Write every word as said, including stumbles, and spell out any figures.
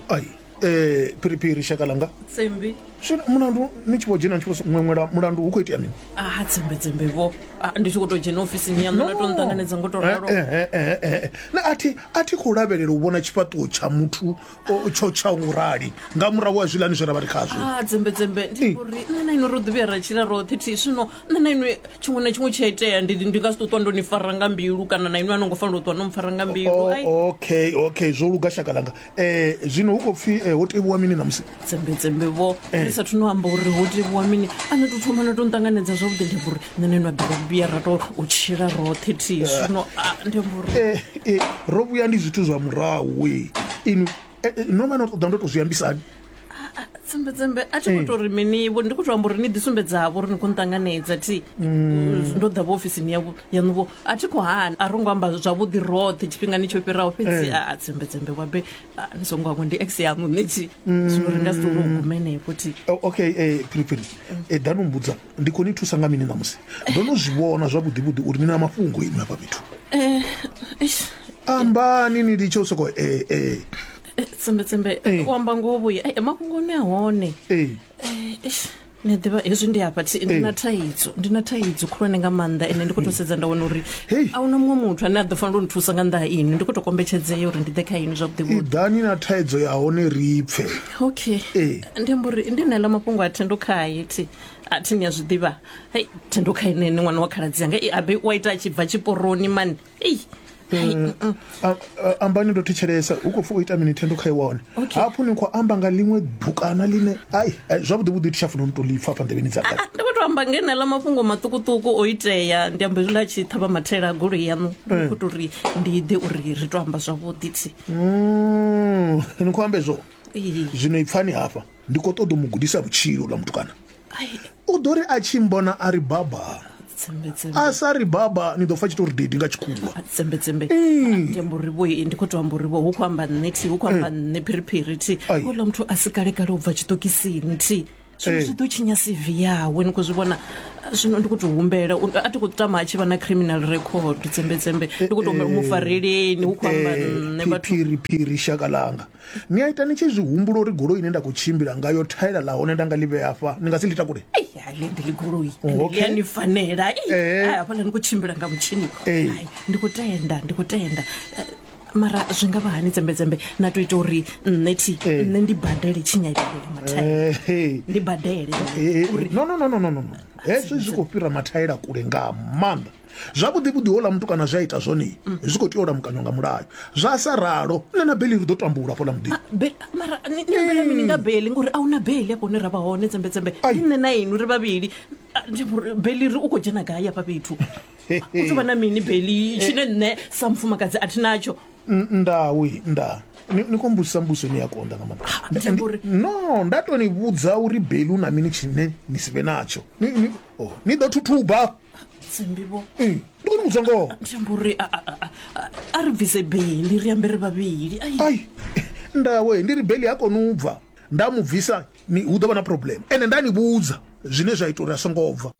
Ai, eh phiriphiri shaka langa. Tsembi. Zwino mulandu ni tshi vho dzhena ni tshi vho ṅweṅwela mulandu hu khou itea mini? Ah, tsembe tsembe vho. Ah, ndi tshi khou tou dzhena ofisini yaṋu na tou nṱanganedza ngo tou ralo. Eh, eh, eh, eh, eh. Na a thi a thi khou lavhelela u vhona tshifhaṱuwo tsha muthu o- tsho tsha u rali nga murahu ha zwiḽani zwe ra vha ri khazwo. Ah, tsembe tsembe ndi uri nṋe na inwi ro ḓi vhuya ra tshila roṱhe thi zwino nṋe na inwi tshiṅwe na tshiṅwe tshi a itea ndi ndi nga si tou ṱwa ndo ni fara nga mbilu kana na inwi a no ngo fanela u ṱwa no mpfara nga mbilu. O- Ai, okay okay zwo luga shaka langa. Eh zwino hu khou pfhi eh, ho tevhuwa mini ṋamusi? Tsembe tsembe vho, ndi sathu no amba uri ho tevhuwa mini a no tou thoma na tou nṱanganedza zwavhuḓi ndi amba uri nṋe na inwi a ḓi vhuya ra tou u tshila roṱhe thi zwino ah, ndi amba uri Eh, eh, ro vhuya ndi zwithu zwa murahu we inwi eh, eh, no vha no ṱoḓa ndo tou zwi ambisani? Tsembe tsembe a thi khou tou ri mini vho, ndi khou tou amba uri ni ḓi sumbedzavho uri ni khou nṱanganedza thi ndo ḓa vho ofisini yavho yaṋu vho a thi khou hana a ro ngo amba zwavhuḓi roṱhe tshifhingani tsho fhiraho fhedzi a tsembe tsembe wabe ah, ni songo hangwa ndi ex yaṋu nṋe thi zwino ri nga si tou gume henefho thi. O- okay eh, phiriphiri eh, ḓani u mbudza ndi khou ni thusa nga mini ṋamusi? Ndo no zwi vhona zwavhuḓi vhuḓi uri ni na mafhungo inwi hafha fhethu. Eh, eish, Ambani ni litshe u soko eh, eh, eh, tsembe tsembe Eh. u amba ngoho vhuya eh, mafhungo ne a hone. eh. Eh, eish, ni a ḓivha hezwi ndi hafha thi ndi na thaidzo ndi na thaidzo khulwane nga maanḓa ende ndi khou tou sedza nda wana uri Hey. a huna muṅwe muthu ane a ḓo fanela u nthusa nga nnḓa ha inwi ndi khou tou kombetshedzea uri ndi ḓe kha inwi zwavhuḓi vhuḓi. Iḓani na thaidzo ya hone ri pfe. Okay. Eh. Ndi amba uri ndi naela mafhungo a thendo khaye thi a thi ni a zwi ḓivha hei thendo khaye nene ṅwana wa khaladzi yanga ei abe wa ita a tshi bva tshiporoni mani ei Hai, mm, mm. A- a- ambani ndo thetshelesa hu khou pfi u ita mini thendo kha iwa hone? Okay. Hafhu ni khou amba nga ḽiṅwe bukana ḽine ai ai, zwavhuḓi vhuḓi thi tsha funa u tou ḽi pfa afha nḓevheni dzanga. Ah, ndi khou tou amba ngeneḽa mafhungo maṱukuṱuku o itea ndi amba hezwiḽa a tshi ṱhavha mathaela a goloi yaṋu ndi khou tou ri ndi ḓe uri ri to amba zwavhuḓi thi. Mm, ni khou amba hezwo? Ee. Zwino ipfani hafha ndi khou ṱoḓa u mu gudisa vhutshilo ḽa mutukana. Ai, U ḓo ri a tshi mbona a ri baba. Tsembe tsembe. A sa ri baba ni ḓo pfa tshi tou ri didi nga tshikhuwa. Ah, tsembe tsembe ndi amba uri vho ndi khou tou amba uri vho hu khou amba nṋe thi hu khou amba nṋe phiriphiri thi. Ai. Houḽa muthu a si kale kale u bva tshiṱokisini thi zwino Eh. zwi ḓo tshinya C V yawe ni khou zwi vhona zwino ndi khou tou humbela u- a thi khou tama a tshi vha na criminal record tsembe tsembe ndi khou tou humbela mufareleni hu khou amba nṋe vhathu. Phiri phiri shaka langa ni a ita ni tshi zwi humbula uri goloi ine nda khou tshimbila ngayo thaela ḽa hone nda nga ḽi vhea hafha ni nga si ḽi takule? Ai, hai, ḽi ndi ḽi goloi Okay. ḽi a ni fanela. Ei, Eh. ai, hafhaḽa ni khou tshimbila nga mutshini. Eh. Ai, ndi khou tenda ndi khou tenda Eh, mara zwi nga vha hani tsembetsembe na tou ita uri nṋe thi Eh. nṋe ndi badele tshinyalelo mathaela Eh, hey. ndi badele Eh, eh, no no no no no no no hezwi zwi khou fhira mathaela kule nga maanḓa zwavhuḓi vhuḓi houḽa muthu kana zwi a ita zwone zwi khou tea u lamukanywa nga mulayo zwa sa ralo nṋe na beli ri ḓo tambula hafhaḽa muḓini. Be- mara ni ni ambela mini nga beli ngori a huna beli afho hune ra vha hone tsembetsembe Ai. ndi nṋe na inwi ri vhavhili Ah, ndi uri beli ri u khou dzhena gai hafha fhethu u tou vha na mini beli tshine nṋe sa mufumakadzi a thi natsho? N- ndawi nda ni ni khou mbudzisa mbudziso ine ya konḓa nga maanḓa. Ndi amba uri- No nda to ni vhudza uri beli u na mini tshine ni si vhe natsho ni ni oh, ni ḓo thuthuba. Tsembi vho. Mm, ndi khou ni vhudza ngoho. Ndi amba uri a- a- a- a- a ri bvise beli ri ambe ri vhavhili ai. Ai ndawe ndi ri beli ha koni u bva nda mu bvisa ni hu ḓo vha na problem ende nda ni vhudza zwine zwa ita uri a songo bva.